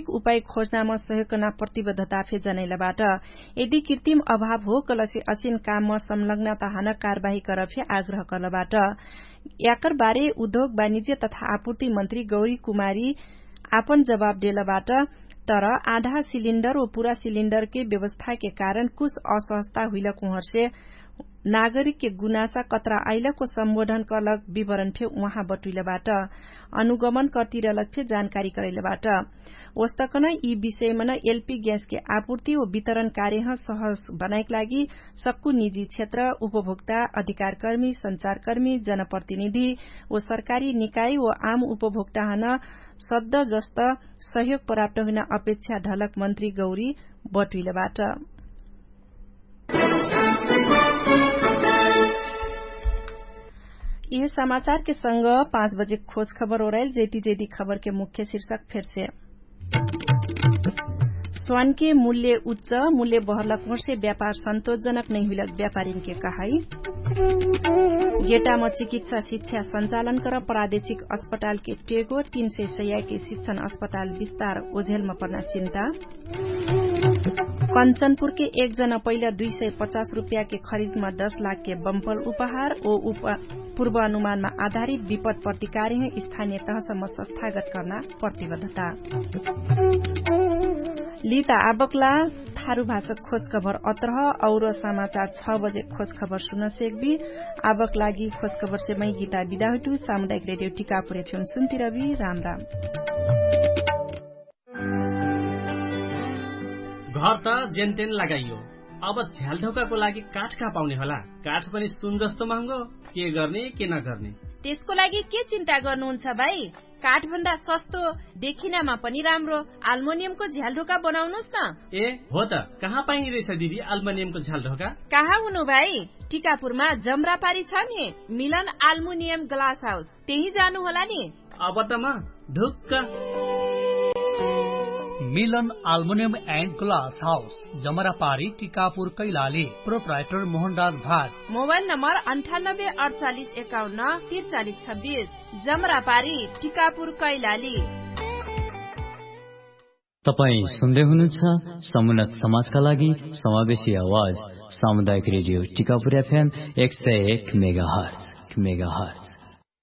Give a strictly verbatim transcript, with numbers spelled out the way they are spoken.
उपाय खोज्नाम सहयोग कर्ना प्रतिबद्धता फे जनैलबाट। यदि कृतिम अभाव हो कलसे असिन कामम संलग्नता हन कारबाही करब फे आग्रह कर्लबाट। याकर बारे उद्योग वाणिज्य तथा आपूर्ति मन्त्री गौरी कुमारी आपन जवाब देलबाट। तर आधा सिलिन्डर व पुरा सिलिन्डरके व्यवस्थाके कारण कुछ असहजता हुइलक उहर्षे नागरिकके गुनासा कत्रा आइलक व सम्बोधन कर्लक विवरण फे उहाँ बटुइलबाट। अनुगमन कर्तिरलक फे जानकारी करैलबाट। ओस्तकन यि विषयमन एलपी ग्यासके आपूर्ति व वितरण कार्यह सहज बनाइक लागि सक्कु निजी क्षेत्र उपभोक्ता अधिकारकर्मी सञ्चारकर्मी जनप्रतिनिधि व सरकारी निकाय व आम उपभोक्ताहन सद्द जस्त सहयोग प्राप्त हुइना अपेक्षा ढलक मन्त्री गौरी बटुइलबाट। यह समाचारके संग पाँच बजे खोज खबर ओराइल जैती जैती खबरके मुख्य शीर्षक फेरसे। स्वानके मूल्य उच्च मूल्य बहरलक होर्से व्यापार सन्तोषजनक नैहुइलक व्यापारीनके कहाई। गेटाम चिकित्सा शिक्षा सञ्चालन कर प्रादेशिक अस्पतालके टेगो तीन सय सयाके शिक्षण अस्पताल विस्तार ओझेलम पर्ना चिन्ता। कञ्चनपुरके एक जन पहिला दुई सय पचास रुपियाँके खरिदमा दश लाखके बम्पल उपहार ओ पूर्व अनुमानमा आधारित विपद प्रतिकारिह स्थानिय तहसम्म सस्थागत कर्ना प्रतिबद्धता। लिता आबकला थारु भाषक खोजखबर अत्रह और समाचार छ बजे खोजखबर सुनसेकबी। आबक लागि खोजखबरसे मै गीता बिदा हुइटु सामुदायिक रेडियो टिकापुरे थिउन सुन्तिरबी राम राम। घर त जेनतेन लगाइयो। अब झ्यालढोकाको लागि काठ कहाँ पाउने होला? काठ पनि सुन जस्तो महँगो। के गर्ने के नगर्ने? त्यसको लागि के चिन्ता गर्नुहुन्छ भाइ? काठभन्दा सस्तो, देखिनामा पनि राम्रो आल्मोनियमको झ्यालढोका बनाउनुस् न। ए हो त, कहाँ पाइने रहेछ दिदी आल्मोनियमको झ्यालढोका? कहाँ हुनु भाइ? टिकापुरमा जम्रापारी छ नि, मिलन आल्मुनियम ग्लास हाउस, त्यही जानु होला नि। अब त म ढुक्क। मिलन आल्मुनियम एन्ड ग्लास हाउस, जमरापारी टिकापुर कैलाली। प्रोप्राइटर मोहनराज भाट। मोबाइल नम्बर अन्ठानब्बे अडचालिस एकाउन्न तिरचालिस छब्बिस। जमरापारी टिकापुर कैलाली। तपाईँ सुन्दै हुनुहुन्छ समुन्नत समाजका लागि समावेशी आवाज, सामुदायिक रेडियो टिकापुर एफएम एक सय एक मेगाहर्ज।